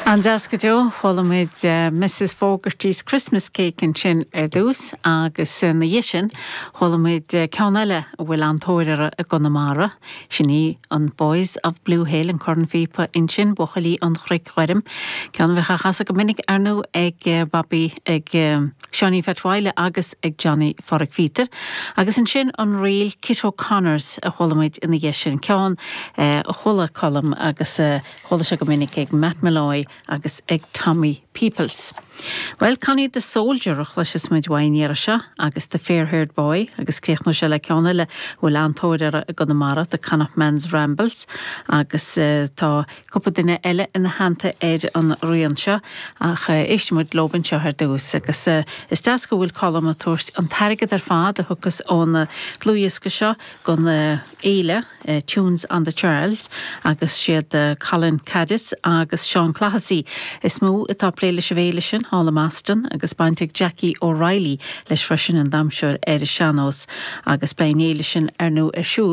An-deas go deo. Chuala muid Mrs Fogarty's Christmas Cake ansin ar dtús agus ina dhiaidh sin chuala muid ceann eile a bhfuil an-tóir orthu i gConamara. Sin í an Boys of Blue Hill, an cornphíopa ansin, Buachaillí an Chnoic Ghoirm. Ceann a bheadh á chasadh go minic ar ndóigh ag Bobby, ag Seáinín Pheait Mhaidhle agus ag Johnny Pháraic Phíotair. Agus ansin an ríl Kit O'Connors a chuala muid ina dhiaidh sin, ceann a chuala Colm agus a chuala sé go minic ag Matt Molloy agus ag Tommy Peoples. Bhuel, Connie the Soldier a chloisfeas muid uaidh an iarraidh seo agus The Fair Haired Boy agus críochnóidh sé le ceann eile a bhfuil an-tóir orthu i gConamara, The Connachtman's Rambles agus tá cúpla duine eile ina theannta ar an rian seo ach éistfidh muid leob anseo ar dtús agus is deas go bhfuil Colm ag tabhairt an t-airgead ar fad a thiocfas ón dlúthdhiosca seo don fhéile Tunes on the Charles agus siad Colin Caddis agus Seán Clohessy is mó atá ag plé leis an bhféile sin thall i mBoston agus baint ag Jackie O'Reilly leis freisin an damhsóir ar an sean-nós agus beidh an fhéile sin ar ndóigh ar siúl.